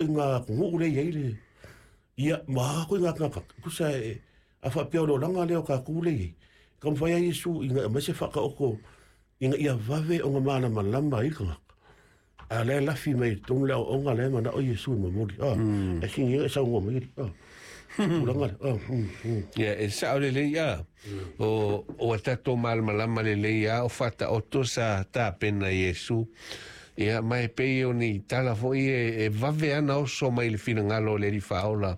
Ituaiga atunuu lea e i ai le ia ma a ituaiga tagata tusa e a faapea o le olaga lea o tatou lea e i ai, e taumafai lava Iesu ina ia aumai se faataoto ina ia vave ona malamalama ai le tagata. A o la e lafi mai i totonu le aoaoga la e manao Iesu e momoli. A, e sini e saunoa mai alii. A, tulaga lea. A, mm, mm. Ia, e sao lelei a. O, ua tatou malamalama lelei a o faataoto sa tapena Iesu. Ia, ma e pei o ni tala foi e, e vave ana oso mai le finagalo o le Alii Faaola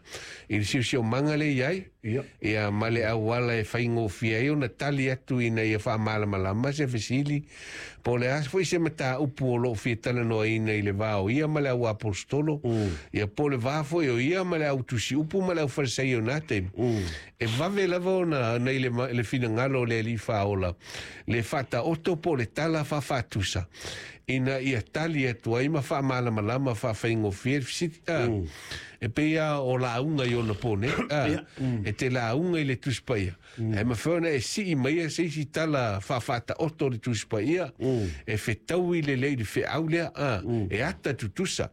i le siosiomaga lea i ai. Ia. Ia, ma le auala e faigofie ai ona tali atu ina ia faamalamalama se fesili, po o le a foi se mataupu o lo o fia talanoaina i le va o ia ma le auaposetolo, ia po o le va foi o ia ma le au tusiupu ma le au Farisai o na taimi. E vave lava ona ona i le, le finagalo o le Alii Faaola le faataoto po o le tala faafaatusa ina ia tali atu ai ma faamalamalama faafaigofie le fesili. A, E pei lava o lauga i ona pō nei. A, E te lauga i le Tusi Paia, ae mafai ona e sii maia se isi tala faafaataoto o le Tusi Paia e fetaui lelei i le feau lea, a, e ata tutusa.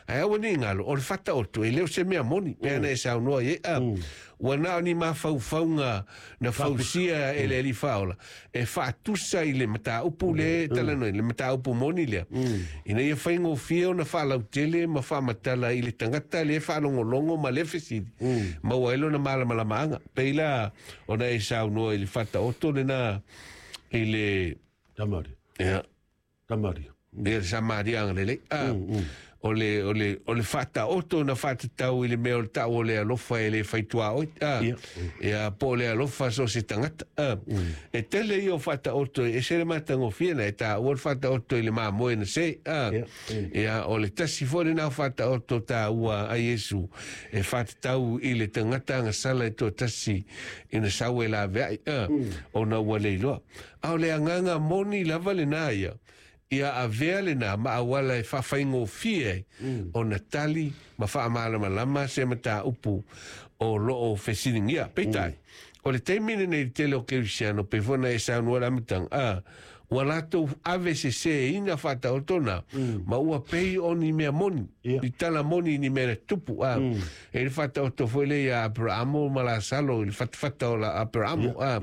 Ae aua ne i galo, o le faataoto e le o se mea moni, pei ona e saunoa i ai, a, ua na o ni mafaufauga na fausia e le Alii Faaola e faatusa i le mataupu lea e talanoaina, le mataupu moni lea, ina ia faigofie ona faalautele ma faamatala i le tagata lea e faalogologo ma lea fesili, maua ai lona malamalamaaga. Pei la ona e saunoa i le faataoto lena i le Samaria. Ia. Samaria. Ia le Samaria agalelei. A, o le, o le, o le faataoto na faatatau i le mea o le tau o le alofa e le fai tuaoi. A, Ia. ia, po o le alofa so o se tagata. A, e tele ia o faataoto e ese le matagofie na e taua le faataoto i le mamoe na se. A, Ia. ia, o le tasi foi lena o faataoto taua a Iesu e faatatau i le tagata agasala e toatasi ina sau e laveai. A, ona ua le iloa. A o le agaga moni lava lena ia, ia avea lena ma auala e faafaigofie ai ona tali ma faamalamalama se mataupu o lo o fesiligia. Peitai, o le taimi lenei i le tele o kerisiano, pei foi ona e saunoa i le amataga, a, ua latou ave seseina faataoto na, ma ua pei o ni mea moni, ni tala moni ni mea na tupu, a, e le faataoto foi lea ia Aperamo ma Lasalo i le fatafata o la Aperamo, a,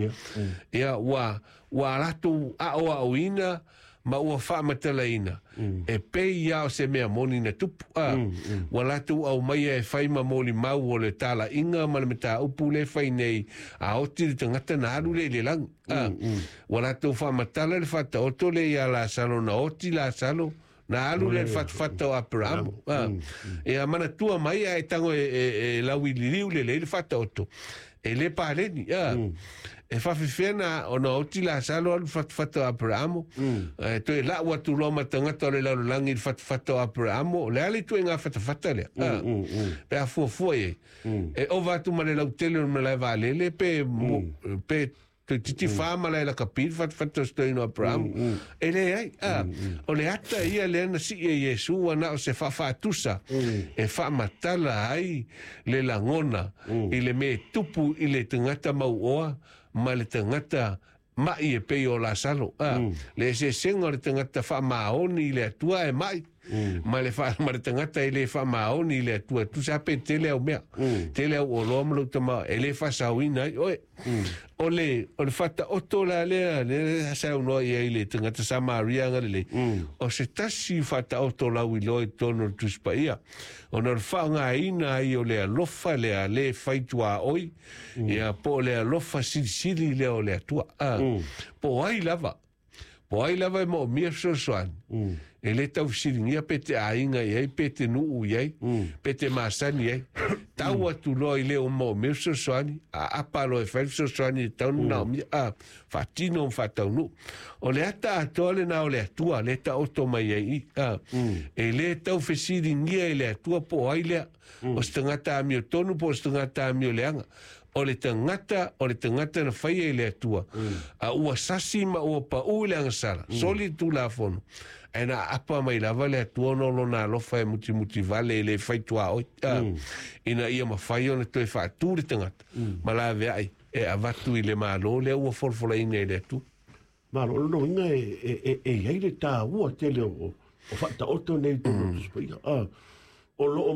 ia, ua, ua latou aoaoina ma ua faamatalaina, e pei lava o se mea moni na tupu, a, ua latou aumaia e fai ma molimau o le talaiga ma le mataupu lea e fai nei, a oti le tagata na alu lea i le lagi, a, ua latou faamatala le faataoto lea ia Lasalo na oti Lasalo, na alu lea i le fatafata o Aperamo, a, ia manatua mai ae tago e, e, e lauililiu lelei le faataoto, e le paleni, a, e faafefea na ona oti Lasalo alu i le fatafata o Aperamo, e toe lau atu loa ma tagata o le lalolagi i le fatafata o Aperamo, o le a le ituaiga fatafata lea, a, pe a fuafua i ai, e ova atu ma le lautele o le malae vaalele pe, pe toeitiiti fa malae lakapi le fatafata o se toeaina o Aperamo. E leai, a, o le ata ia lea na sii e Iesu ua na o se faafaatusa e faamatala ai le lagona i le mea e tupu i le tagata mauoa ma le tagata maʻi e pei o Lasalo. A, le eseesega o le tagata faamaoni i le Atua ae maʻi, ma le fa, ma le tagata e le faamaoni i le Atua. Tusa pe tele au mea, tele au oloa ma lou tama, e le faasaoina ai oe. O le, o le faataoto la lea, lea saunoa i ai le tagata Samaria agalelei, o se tasi faataoto lauiloa i totonu o le Tusi Paia, ona o le faaaogaina ai o le alofa lea le fai tuaoi, ia po o le alofa silisili lea o le Atua. A, po o ai lava, po o ai lava e moomia fesoasoani, e le tau fesiligia pe te aiga i ai, pe te nuu i ai, pe te masani i ai. Tau atu loa i le o moomia fesoasoani, a apa loa e fai le fesoasoani e tatau ona manaomia, a, faatino ma faataunuu. O le ata atoa lena o le Atua, le taoto mai ai i, a, e le tau fesiligia e le Atua po o ai lea, o se tagata amiotonu po o se tagata amioleaga. O le tagata, o le tagata na faia i le Atua, a ua sasi ma ua paʻū i le agasala, soli le Tulafono, ae na aapa mai lava le Atua ona o lona alofa e mutimuti vale e le fai tuaoi, a, ina ia mafai ona toe faatū le tagata ma laveai e avatu i le Malo lea ua folafolaina e le Atua. Malo, o lona uiga e, e, e, e i ai le taua tele o, o faataoto nei i totonu o le Tusi Paia. A, O loo.